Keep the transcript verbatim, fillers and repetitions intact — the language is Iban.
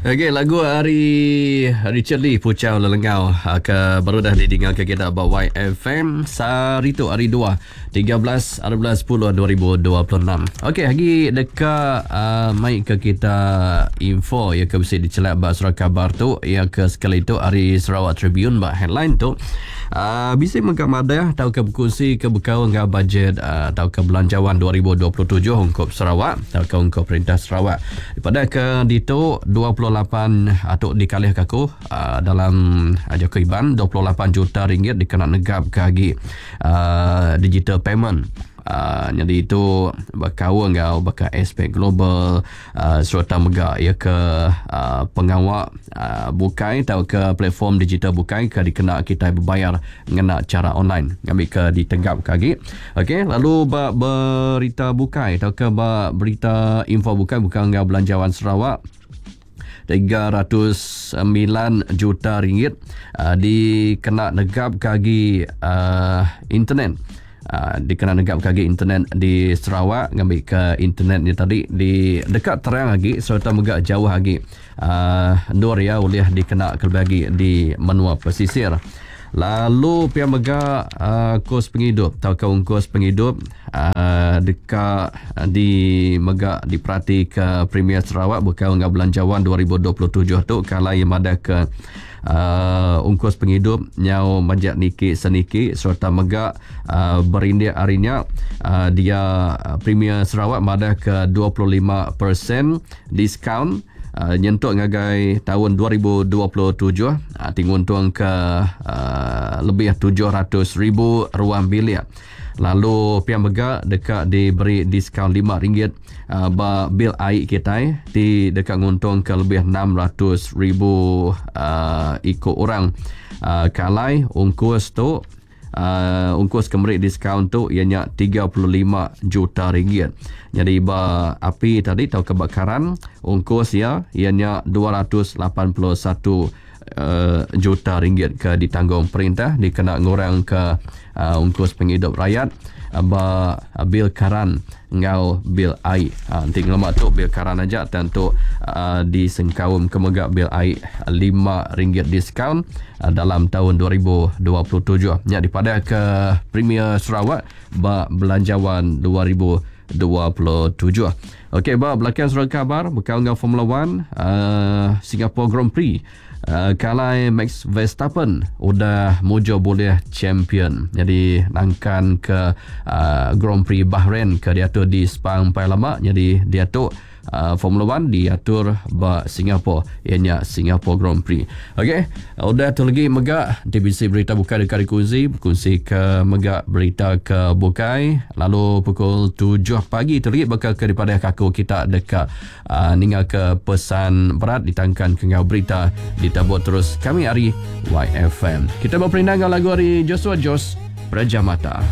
Okey, lagu ari Richard Lee Puchau Lelengau ah, ke baru dah didinga ke kita ba Y F M sehari tu hari dua tiga belas hari bulan sepuluh dua ribu dua puluh enam. Okey, agi deka uh, mai ke kita info ya ke bisi dicelak ba surat khabar tu ya ke sekali tu hari Sarawak Tribune ba headline tu. Uh, bisi mega madah tau ke berkongsi ke bekau enggau bajet uh, tau ke belanjawan dua ribu dua puluh tujuh ungkup Sarawak tau ke ungkup perintah Sarawak. Pada ke ditu dua puluh lapan atau dikalih ke aku uh, dalam uh, Jaku Iban dua puluh lapan juta ringgit dikena negap ke agi uh, digital payment. Uh, jadi itu berkau enggau baka aspek global uh, serta mega ia ke uh, pengawak uh, bukai atau ke platform digital bukai ke dikena kita berbayar ngena cara online ngambil ke ditenggap ke lagi. Okey, lalu ba berita bukai atau ke ba berita info bukai bukan enggau belanjawan Sarawak tiga ratus sembilan juta ringgit uh, dikena negap ke agi uh, internet. Uh, dikena negap ke agi internet di Sarawak ngambil ke internet ni tadi di dekat terang lagi serta mega jauh lagi uh, nur ya boleh dikena ke lebih lagi di menua pesisir. Lalu pihak mega uh, kos penghidup atau ke ungkus penghidup uh, dekat di mega diperhati ke Premier Sarawak bukan dengan belanjawan dua ribu dua puluh tujuh tu kalau yang ada ke uh, ungkus penghidup nyau majak niki seniki serta mega uh, berindik harinya uh, dia uh, Premier Sarawak madah ke dua puluh lima peratus diskaun Uh, nyentuk ngagai tahun dua ribu dua puluh tujuh uh, tinguntung ke uh, lebih tujuh ratus ribu ruang bilik. Lalu pihak mega dekat diberi diskaun lima ringgit uh, ba bil air kita di dekat nguntung ke lebih enam ratus ribu uh, ikut orang. Uh, kalai ungkus tu Uh, ungkus kemeri diskaun tu ianya tiga puluh lima juta ringgit. Jadi ba api tadi atau kebakaran ungkus ya ianya dua ratus lapan puluh satu uh, juta ringgit ke ditanggung perintah dikena ngurang ke uh, ungkus penghidup rakyat uh, ba bil karan ngau bil air. Ha, nanti ngelama tu bil karan aja tentu uh, disengkaum ke mega bil air lima ringgit diskaun uh, dalam tahun dua ribu dua puluh tujuh. Nya dipadah ke Premier Sarawak ba belanjawan dua ribu dua puluh tujuh. Okey, ba belakang surat khabar bekal ngau Formula One uh, Singapore Grand Prix. Uh, kalai Max Verstappen udah mujo boleh champion. Jadi nangkan ke uh, Grand Prix Bahrain ke diatur di Sepang pai lama. Jadi diatur uh, Formula One diatur ba Singapore, ianya Singapore Grand Prix. Okey, udah tu lagi mega T B C berita bukai dekat dikongsi, berkongsi ke mega berita ke bukai. Lalu pukul tujuh pagi tu lagi bakal ke daripada kaku kita dekat uh, ningal ke pesan berat ditangkan ke ngau berita ditabur terus kami hari Y F M. Kita berperindang lagu hari Joshua Jos Prajamata.